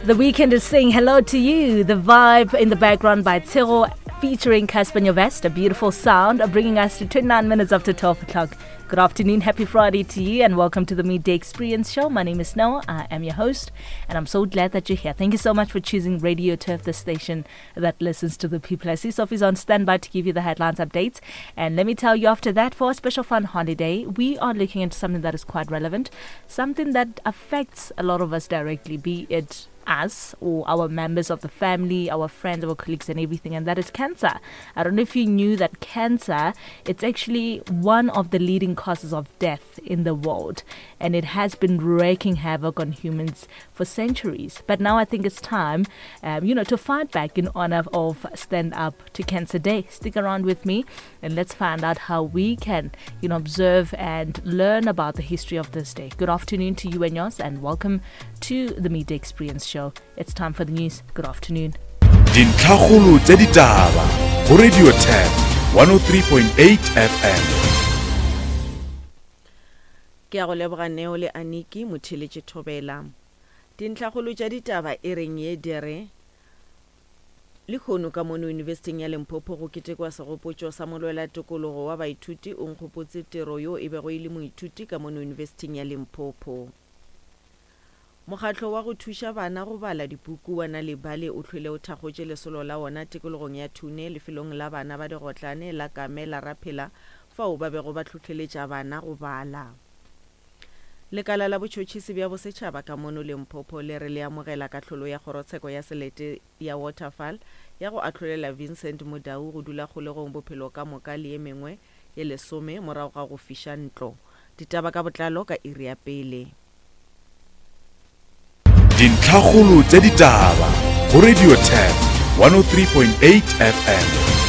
The weekend is saying hello to you. The vibe in the background by Tiro featuring Cassper Nyovest, a beautiful sound, bringing us to 29 minutes after 12 o'clock. Good afternoon, happy Friday to you, and welcome to the Midday Experience Show. My name is Snow, I am your host, and I'm so glad that you're here. Thank you so much for choosing Radio Turf, the station that listens to the people. I see Sophie's on standby to give you the headlines updates. And let me tell you, after that, for a special fun holiday, we are looking into something that is quite relevant, something that affects a lot of us directly, be it us or our members of the family, our friends, our colleagues, and everything, and that is cancer. I don't know if you knew that cancer, it's actually one of the leading causes of death in the world, and it has been wreaking havoc on humans for centuries. But now I think it's time, you know, to fight back in honor of Stand Up to Cancer Day. Stick around with me and let's find out how we can, you know, observe and learn about the history of this day. Good afternoon to you and yours, and welcome to the Midday Experience Show. It's time for the news. Good afternoon. Dintlhakgolo tša ditaba go Radio Turf 103.8 FM. Ke a go leboga Neo le Aniki Motheletše Thobela. Dintlhakgolo tša ditaba e reng ye di re, Lehono ka mono Yunibesithing ya Limpopo go ketekwa segopotšo sa molwela tokologo wa baithuti Onkgopotse Tiro yo e bego e le moithuti ka mono Yunibesithing ya Limpopo. Mokgatlo wa go thuša bana go bala dipuku wa Nal'ibali o hlwele o thakgotše lesolo la wona tikologong ya Thune lefelong la bana ba digotlane la Kame la Raphela fao ba bego ba hlohleletša bana go bala. Lekala la botšhotšhisi bja bosetšhaba ka mono Limpopo le re le amogela kahlolo ya kgorotsheko ya selete ya Waterval ya go ahlolela Vincent Mudau go dula kgolegong bophelo ka moka le ye mengwe ye lesome morago ga go fiša ntlo. Ditaba ka botlalo ka iri ya pele. Dintlhakgolo tša ditaba go Radio Turf 103.8 FM.